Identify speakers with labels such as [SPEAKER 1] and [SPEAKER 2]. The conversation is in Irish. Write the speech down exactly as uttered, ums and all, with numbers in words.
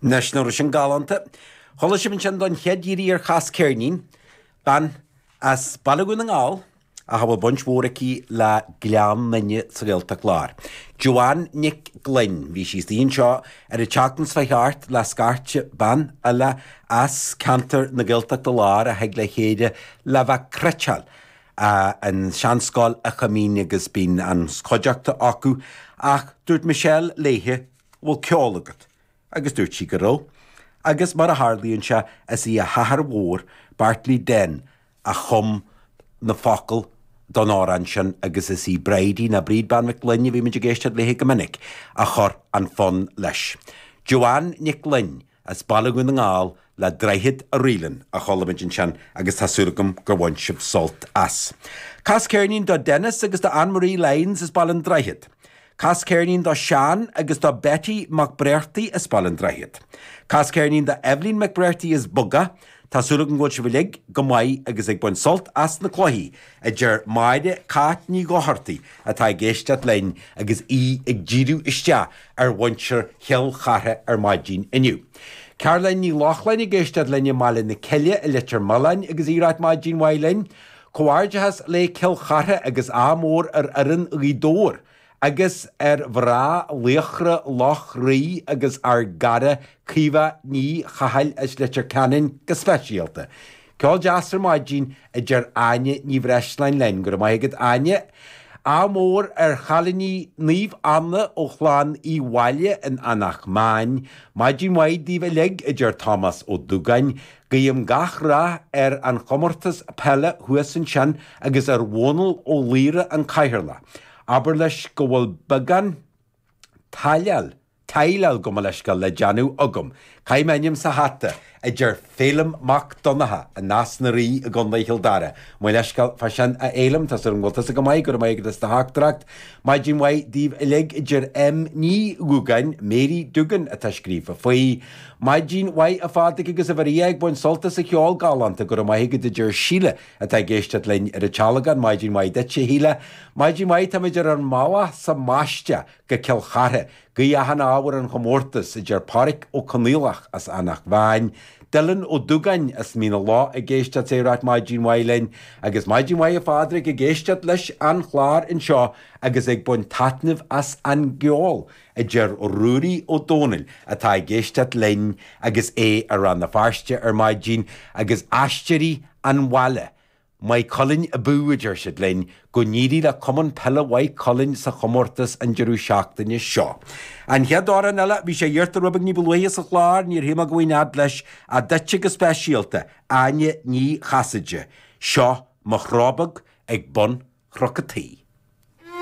[SPEAKER 1] Anois, nach raibh sin galánta. Chuala sibh ansin don chéad iarraidh ar Chas Ceirnín, bean as Baile Dhún na nGall ach a bhfuil baint mhór aici le Gleann Fhinne sa Ghaeltacht Láir. Joanne Nic Gloinn, bhí sí istigh anseo ar an tseachtain seo thart le scairte ban eile as ceantar na Gaeltachta Láir a thig le chéile le bheith cniotáil an seanscoil a Choimín agus bíonn an chuideachta acu ach dúirt Michelle léithe bhfuil ceol agat agus dúirt sí go raibh. Agus mar a tharlaíonn sé is í a hathair mhór Bartley Den a chum na focail don amhrán sin agus is í Bridie ná Bríd Bean Mhic Gloinn a bhí muid ag éisteacht léithe go minic a chur an fonn leis. Joanne Nic Gloinn as Baile Dhún na nGall le Droichead a Ríleann a chuala muid ansin agus tá súil agam gur bhain sibh sult as. Cas ceirnín do Dennis agus do Anne-Marie Lyons as Baile an Droichid. Cas ceirnín do Sean agus do Betty McBrearty as Baile an Droichid. Cas ceirnín do Evelyn McBrearty as Buga, Tá súil agam go bhfuil sibh uilig go maith agus ag baint sult as na cluichí a deir Máire Cáit Ní Dhochartaigh atá ag éisteacht linn agus í ag díriú isteach ar mhuintir Chill Chartha ar maidin inniu. Caroline Ní Lochlainn ag éisteacht linn i mBaile na Cille i Leitir Mealláin agus í ag ráit maidin mhaith linn, Comhghairdeachas le Cill Chartha agus ádh mór ar fhoireann Ghaoth Dobhair agus ar mhná Laochra Loch Rí agus ár gcara Caoimhe Ní Chathail as Leitir Ceanainn go speisialta. Ceol deas ar maidin a deir Áine Ní Bhreisleáin linn go raibh maith agat Áine. Ádh mór ar chailíní Naomh Anna ó chlann Uí Mháille in Eanach Mheáin, Maidin mhaith daoibh uilig a deir Tomás Ó Dúgáin, Guím gach rath ar an chomórtas peile thuas ansin agus ar Dhónal Ó Laoire an cathaoirleach. Abair leis go bhfuil beagán taileáil taileáil gabh mo leithscéal le déanamh agam. Caithfidh m'ainm sa hata a deir Féilim Mac Donncha i Nás na Rí i gContae Chill Dara. Mo leithscéal fá sin a Fhéilim tá súil agam go bhfuil tusa go maith go raibh maith agat as do theachtaireacht. Maidin mhaith daoibh uilig a deir M Ní Dhúgáin, Mary Dugan atá scríofa faoi. Maidin mhaith a Phádraig agus a Mharia ag baint sult as an cheol galánta go raibh maith agat a deir Síle atá ag éisteacht linn ar an Tealgán, Maidin mhaith duit a Shíle. Maidin mhaith táimid ar an mbealach sa mbaisteach go Cill Chartha, Guím achan ádh ar an chomórtas a deir Pádraic Ó Conaola as Eanach Mheáin, Dylan Ó Dúgáin as Mín na Lá ag éisteacht ag ráit maidin mhaith linn, agus maidin mhaith a Phádraig ag éisteacht leis an chlár anseo agus ag baint taitneamh as an gceol a deir Ruairí Ó Dónaill atá ag éisteacht linn agus é ar Rann na Feirste ar maidin agus Aisteoirí an Bhaile. Maigh Cuilinn abú a deir siad linn go n-éirí le Cumann Peile Mhaigh Cuilinn sa chomórtas an deireadh seachtaine seo. An chéad amhrán eile bhí sé iarrta rud beag ní ba luaithe sa chlár níor théama go bhfuin ad leis a duitse go speisialta Áine Ní Chasaide. Seo mo chrá beag ag bun Chnoc an Tí.